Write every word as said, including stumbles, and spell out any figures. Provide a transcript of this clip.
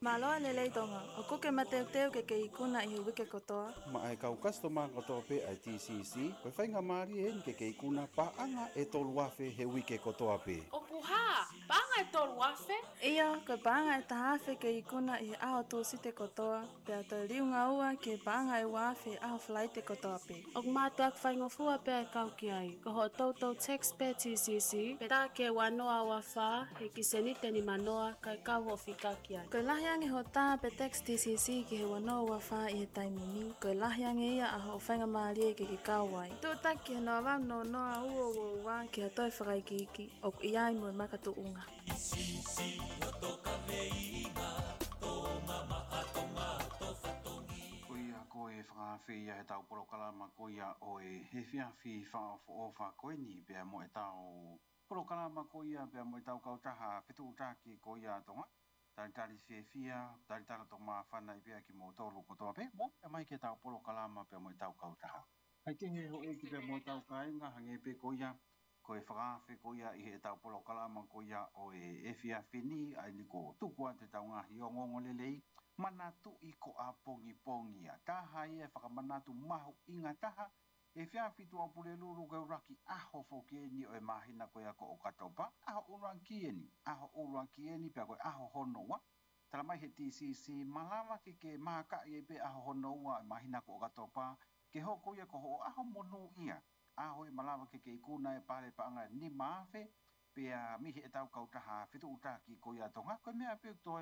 Mālō e lelei Tonga, ʻoku ke mateuteu ke ke ikuna ʻi he uike kotoa? Maʻa e kau customer kotoa pē ʻa e T C C, ko e faingamālie eni ke ke ikuna paʻanga ʻe tolu afe he uike kotoa pē. ʻOku hā, paʻanga ʻe tolu afe? ʻIo, ko e paʻanga ʻe taha afe ke ikuna ʻi he ʻaho Tūsite kotoa, pea toe liunga ua ki he paʻanga ʻe ua afe ʻaho Falaite kotoa pē. ʻOku mātuʻaki faingofua pē ʻa e kau ki ai. Ko hoʻo toutou text pē T C C, pea tā ki he ua noa ua fā, he ki he seniti ʻe nima noa, kae kau hoʻo fika ki ai. Ko e lahi ange hoʻo tā pē text T C C ki he ua noa ua fā ʻi he taimi ni, ko e lahi ange ia ʻa hoʻo faingamālie ke ke kau ai. Tuʻutaki ki he noa valu noa noa ua ua ua ki ha toe fakaikiiki, ʻoku ʻi ai mo e makatuʻunga. Ko ia ko e fakaafe ia he tau polokalama ko ia ʻo e efiafi fakaʻofoʻofa ko eni pea mo e tau polokalama ko ia pea mo e tau kautaha fetuʻutaki ko ia Tonga. Talitali fiefia, talitali tō māfana ʻi pea kimoutolu kotoa pē, mou pea mai ki he tau polokalama pea mo e tau kautaha. Hai ke he houʻeiki pea mo e tau kāinga, hangē pē ko ia, ko e fakaafe ko ia ʻi he tau polokalama ko ia ʻo e efiafi ni, ʻa eni ko e tuku atu e tau ngaahi ongoongolelei, manatuʻi ko ʻapongipongi ia. Taha ia e fakamanatu mahuʻinga taha, efiafi Tuʻapulelulu ko e ʻuluaki ʻaho foki eni ʻo e māhina ko ia ko ʻOkatopa, ʻaho ʻuluaki eni, ʻaho ʻuluaki eni pea ko e ʻaho hono ua, tala mai he T C C, malava ke ke mākaʻi ai pē ʻaho hono ua ʻo e māhina ko ʻOkatopa, ke hoko ia ko hoʻo ʻaho monūʻia, ʻaho ʻe malava ke ke ikuna e pale paʻanga ʻe nima afe, pea mei he tau kautaha fetuʻutaki ko ia Tonga, ko e meʻa pē ʻoku toe